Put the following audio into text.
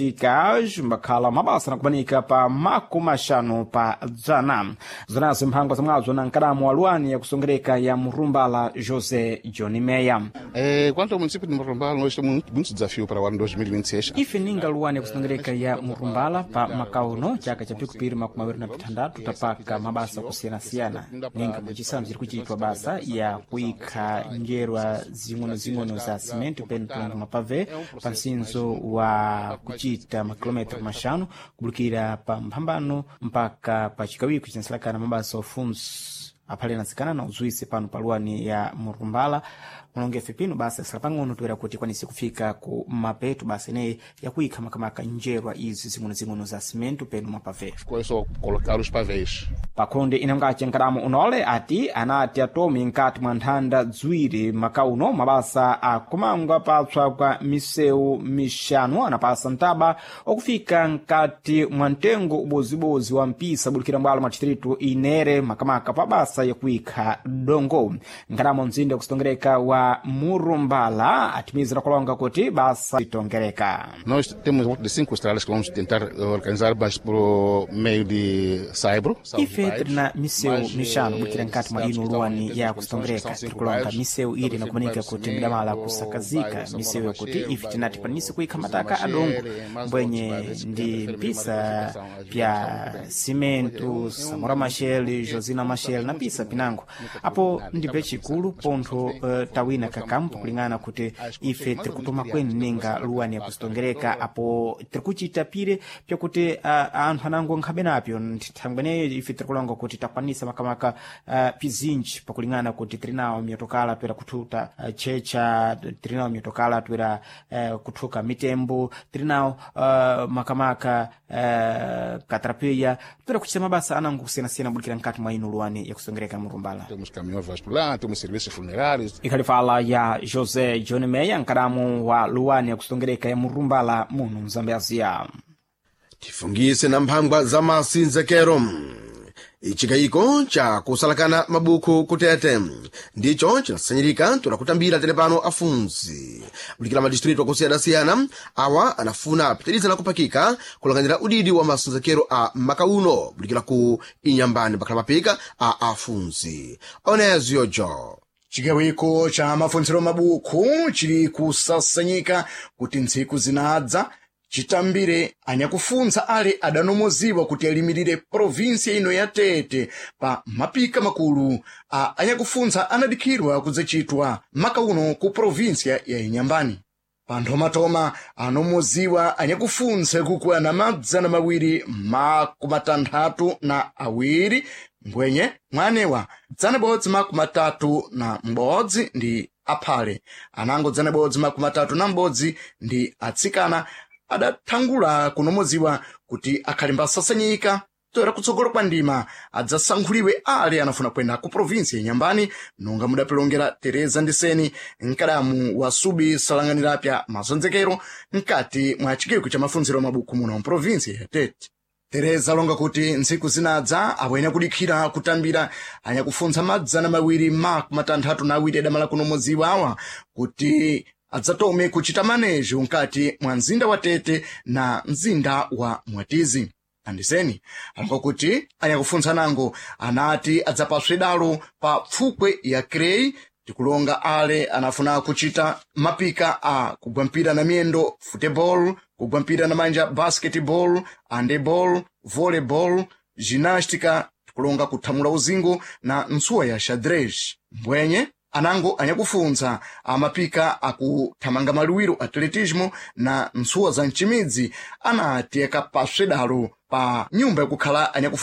Meticas mbakhala mabasa nakubanika pa 50%. Zonazo mphangwa zamwazo na nkadamu wa luwani yakusongereka ya Murumbala, José John Meya. Quanto ao município de Morrumbala, nós temos muitos desafios para o ano 2026. Ife ninga luwani yakusongereka ya Murumbala pa makauno chaka cha pikupiri 26 tapaka mabasa kusiyanasiyana, ninga muchisamu chiri kuchitwa basa ya kuikha njerwa zing'onozing'ono za simento pene tulanga mapave pa msinzo wa kuchita makilometro 5 kubulukira pa mphambano mpaka pa chikawiko chinsalakana mabasa ofunso aphale anatsikana na uzuise pano paluwani ya Murumbala. Mulongefe pino basa sala pang'ono toera kuti ikwanise kufika ku mapeto basa ineyi yakuikha makamaka njerwa izi zing'onozing'ono za simento peno mapave. Com isso, colocar os pavês. Pakhonde inangace nkadamu unole ati anati atome nkati mwa nthanda ziwiri makauno mabasa akumangwa patswa kwa misewu mixanu anapasa ntaba okufika nkati mwa mtengo ubozibozi wa mpisa bulikira mbwalo mwa distritu inere makamaka pa basa yakuikha dongo. Nkadamu mzinda wakusitongereka wa Murumbala atimizira kulonga kuti basa itongereka. Nós temos volta de cinco estradas que vamos tentar organizar, mas por meio de saibro. São os Ife bairros, tirina misewu mas, mixanu bukira nkati mwa cidades ino que estão em luwani péssimas ya condições, que kusongereka, são cinco tirikulonga bairros. misewu iri Talvez nakumanika bairro kuti Cimento, midamala bairro kusakazika Samora misewu yakuti Machel, ife tinati bairro panise kuikha José mataka Machel, adongo mais mbwenye outros bairros que ndi preferem mpisa uma edificação, pya às vezes, simento Samora Machel, Josina Machel na pisa pinango apo ndipe chikulu pontho tawina kakampo kulingana kuti ife tirikutuma kweni ninga luwani yakusitongereka apo tirikuchita pire pyakuti anthu anango nkhabe napyo nthangweneyo ife tirikulonga kuti takwanisa makamaka pizinji pakulingana kuti tirinawo myotokala toera kuthuta checha, tirinawo myotokala toera kuthuka mitembo, tirinawo makamaka katrapeya toera kuchita mabasa anango kusiyanasiyana bulikira nkati mwa ino luwani yakusongereka Murumbala. Temos caminhões vascular, temos serviços funerários. Ikhalifala ya José John Meya, nkadamu wa luwani yakusongereka ya Murumbala muno Mzambezia. Tifungise na mphangwa za masinzekero. Ichikayiko cha kusalakana mabuku kutete ndicho cinasanyirika tunakutambira tene pano afunzi bulikira madistritu akusiyana-siyana awa anafuna apitiriza na kupakika kulanganira udidi wa masinzekero a makauno bulikira ku inyambani pakhala mapika a afunzi oneziyojo. Chigawiko cha mafuntsiro mabuku chili kusasanyika kuti ntsiku zinadza chitambire anyakufuntsa ale adanomoziwa kuti alimirire provinsia ino ya Tete pa mapika makulu a anyakufuntsa anadikhirwa kudzacitwa maka uno ku provinsia ya Inyambani. Pa nthomatoma anomoziwa anyakufuntsa kukwana 262, mbwenye mwanewa 131 ndi aphale, anango 131 ndi atsikana adathangula kunomoziwa kuti akhale mbasasanyika toera kutsogolo kwa ndima adzasankhuliwe ale anafuna kwenda ku provinsi ya Nyambani, nonga mudapilongera Tereza Ndiseni, mkadamu wa subi salanganirapya mazonzekero mkati mwa chigwiko cha mafunziro mabuku muno mprovinsi ya Tete. Tereza alonga kuti ntsiku zinadza awene kudikhira kutambira anyakufuntsa 262 adamala kunomoziwa awa kuti adzatome kuchita manejo mkati mwa mzinda wa Tete na mzinda wa Mwatizi. Andiseni alonga kuti anyakufuntsa nango anati adzapaswe dalo pa pfukwe ya Crei, tikulonga ale anafuna kuchita mapika a kugwa mpira na miyendo football, kugwa mpira na manja basketball, handeball, volleyball, ginástica, tikulonga kuthamula uzingo na ntsuwa ya xadrez. Mbwenye anango anyakufuntsa amapika akuthamanga maluwiro atletismo na ntsuwa za mcimidzi anati akapaswe dalo pa nyumba yakukhala anyakufuntsa.